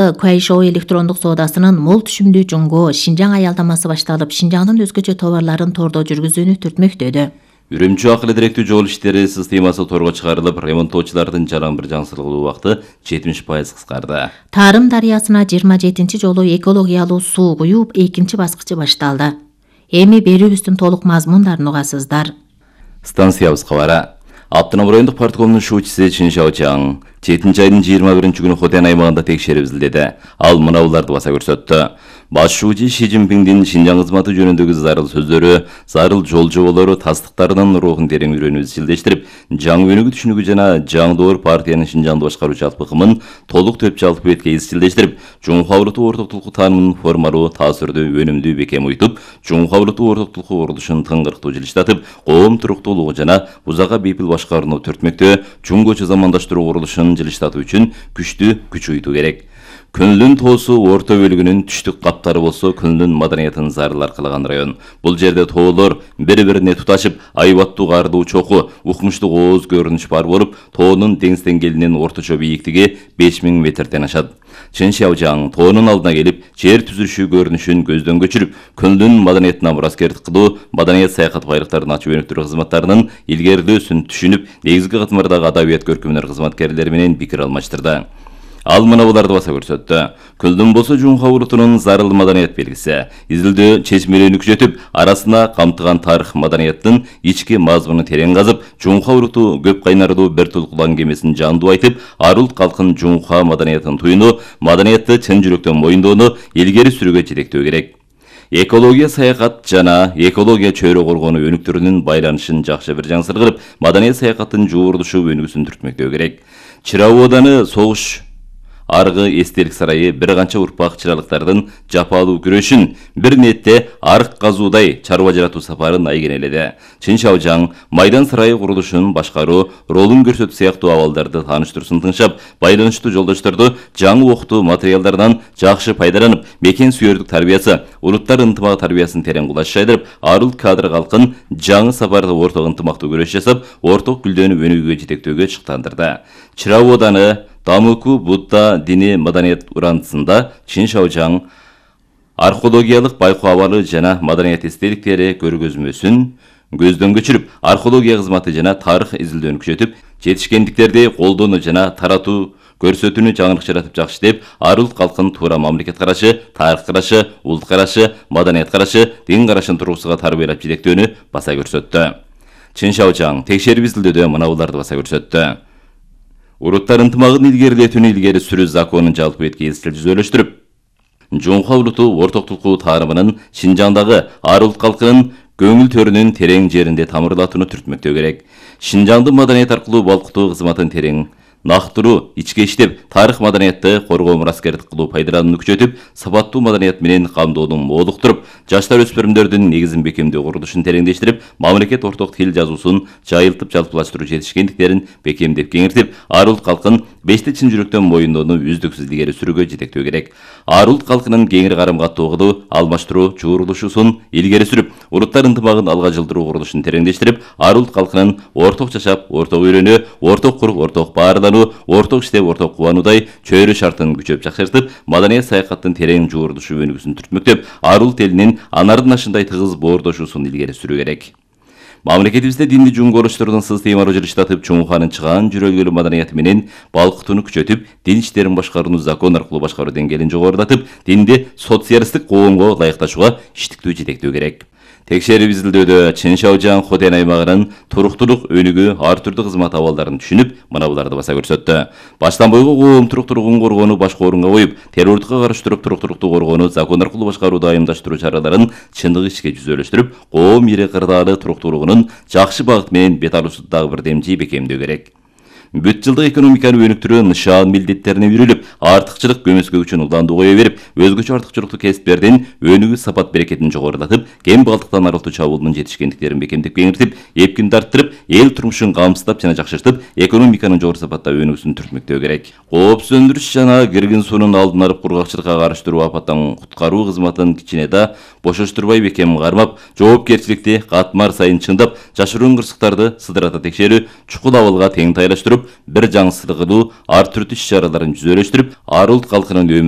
Kuaishou электрондук соодасынын мол түшүмдүү жумгоо Шинжаң аялдамасы башталып, Шинжаңдын өзгөчө товарларын тордо жүргүзүүнү түртмөктөдү. Үрүмчү акыл директүү жол иштери системасы торго чыгарылып, ремонттоочулардын жаран бир жаңсырылуу убакыты 70% кыскарды. Тарым дарыясына 27-чи жолу экологиялуу суу куюп, экинчи баскычы башталды. Эми берүүбүздүн толук мазмундарын угасыздар. Станциябыз кабары. Автоном райондук парткомдун шуучусу Чин Шаочаң 7-айдын 21-күнү Хотен аймагында текшерип изилдеди. Ал мынауларды баса көрсөттү. Баш шуучу Ши Цзиньпиндин Шинжаң кызматы жөнүндөгү зарыл сөздөрү, зарыл жол жоболору тастыктарынын рухун терең үйрөнүп изчилдештирип, жаңы өнүгүү түшүнүгү жана жаңы доор партиянын Шинжаңды башкаруучу алпыкымын толук төп жалпы бетке изчилдештирип, Жумху Авруту орток тулку таанымын формалуу, таасирдүү, өнүмдүү бекем уйтуп, Жумху Авруту орток тулку курулушун тыңгырктуу жылыштатып, коом туруктуулугу жана узакка бейпил башкарууну түртмөктө, чуңгочу замандаштыруу курулушун жылыштатуу үчүн күчтүү күч уйтуу керек. Күнлүн тоосу орто бөлүгүнүн түштүк каптары болсо, күнлүн маданиятын зарыл аркалаган район. Бул жерде тоолор бири-бирине туташып, айбаттуу каардуу чоку, укмуштук ооз көрүнүш бар болуп, тоонун деңиз деңгээлинин орточо бийиктиги 5000 метрден ашат. Чин Шаочаң тоонун алдына келип, жер түзүлүшү көрүнүшүн көздөн көчүрүп, күнлүн маданиятына мураскердик кылуу, маданият саякат байлыктарын ачып өнүктүрүү кызматтарынын илгерилөөсүн түшүнүп, негизги катмардагы адабият көркөмдөр кызматкерлери менен пикир алмаштырды. Ал мынауларды баса көрсөттү. Күлдүн болсо Жумху Аврутунун зарыл маданият белгиси. Изилдөө чечмелүүнү күчөтүп, арасына камтыган тарых маданияттын ички мазмунун терең казып, Жумху Авруту көп кайнардуу бир тулкулан кемесин жандуу айтып, арулт калкын Жумху маданиятын туюну, маданиятты чын жүрөктөн моюндоону илгери сүрүүгө жетектөө керек. Экология саякат жана экология чөйрө коргонуу өнүктүрүүнүн байланышын жакшы бир жаңсыргырып, маданият саякаттын жуурдушу өнүгүүсүн түртмөктөө керек. Чырау ауданы согуш аргы эстелик сарайы бир канча урпак чыралыктардын жапалуу күрөшүн, бир нетте арык казуудай чарба жаратуу сапарын айгенеледи. Чин Шаочаң майдан сарайы курулушун башкаруу, ролун көрсөтүү сыяктуу абалдарды тааныштыруусын тыңшап, байланыштуу жолдошторду жаңы окутуу материалдарынан жакшы пайдаланып, мекен сүйөрдүк тарбиясы, улуттар ынтымагы тарбиясын терең кулаш жайдырып, арулт кадр калкын жаңы сапарда орток ынтымактуу күрөш жасап, орток гүлдөнүп өнүгүүгө жетектөөгө чыктандырды. Чырау ауданы Дамыку Будда дини маданият урандысында Чин Шаочаң археологиялык байкоо абалы жана маданият эстеликтери көргөзмөсүн көздөн көчүрүп, археология кызматы жана тарых изилдөөнү күчөтүп, жетишкендиктерди колдонуу жана таратуу көрсөтүүнү жаңылык жаратып жакшы иштеп, арулт калкын туура мамлекет карашы, тарых карашы, улут карашы, маданият карашы, дин карашын тургусуга тарбиялап жетектөөнү баса көрсөттү. Чин Шаочаң текшерип изилдөөдө мынауларды баса көрсөттү. Уруттар ынтымагын илгерилетүүнү илгери сүрүү законун жалпы бетке жүзөлөштүрүп, Жумху Авруту орток тулкуу таанымынын Шинжаңдагы арулт калкынын көңүл төрүнүн терең жеринде тамырлатууну түртмөктөө керек. Шинжаңдын маданият аркылуу балкытуу кызматын терең нактыруу, ичке иштеп, тарых маданиятты коргоо мураскердик кылуу пайдаланууну күчөтүп, сапаттуу маданият менен камдоону молуктуруп, жаштар өспүрүмдөрдүн негизин бекемдөө курулушун тереңдештирип, мамлекет орток тил жазуусун жайылтып жалпылаштыруу жетишкендиктерин бекемдеп кеңиртип, арулт калкын бешти чын жүрөктөн моюндоону үздүксүз илгери сүрүүгө жетектөө керек. Арулт калкынын кеңири карым каттоого алмаштыруу чуурулушусун илгери сүрүп, уруттар ынтымагын алга жылдыруу курулушун тереңдештирип, арулт калкынын орток жашап, орток үйрөнүү, орток куруп, орток баарлануу, орток иштеп, орток кубануудай чөйрө шартын күчөп жакшыртып, маданият саякаттын терең жуурдушу өнүгүүсүн түртмөктөп, арулт элинин анардын ашындай тыгыз боордошуусун илгери сүрүү керек. Мамлекетибизде динди жуңгоолоштордун системалуу жылыштатып, чоңуханын чыгаан жүрөлгөлүү маданияты менен балкытууну күчөтүп, дин иштерин башкарууну закон аркылуу башкаруу деңгээлин жогорулатып, динди социалисттик коомго ылайыкташууга иштиктүү жетектөө керек. Текшерип изилдөөдө Чин Шаочаң Хотен аймагынын туруктуулук өнүгүү ар түрдүү кызмат абалдарын түшүнүп, мынауларды баса көрсөттү. Баштан бойго коом туруктуулугун коргоону башкы орунга коюп, террордукка каршы туруп туруктуулукту коргоону закон аркылуу башкарууду айымдаштыруу чараларын чындык ишке жүзөлөштүрүп, коом ири кырдаалы туруктуулугунун жакшы багыт менен бет алуусу дагы бир демчи бекемдөө керек. Бүт жылдык экономиканы өнүктүрүү нышан милдеттерине үйрүлүп, артыкчылык көмөскө үчүн уландуу кое берип, өзгөчө артыкчылыктуу кесиптердин өнүгүү сапат берекетин жогорулатып, кем балдыктан арылтуу чабуулунун жетишкендиктерин бекемдеп кеңиртип, эпкинди арттырып, эл турмушун камсыздап жана жакшыртып, экономиканын жогору сапатта өнүгүүсүн түртмөктөө керек. Коопсуздандырыш жана киргин суунун алдын алып, кургакчылыкка каршы туруу, апаттан куткаруу кызматын кичине да бошоштурбай бекем кармап, жоопкерчиликти катмар сайын чындап, жашыруун кырсыктарды сыдырата текшерүү, чукул абалга тең тайлаштырып, бир жаңы сыргылуу ар түрдүү иш-чараларын жүзөлөштүрүп, ар улут калкынын өмүрү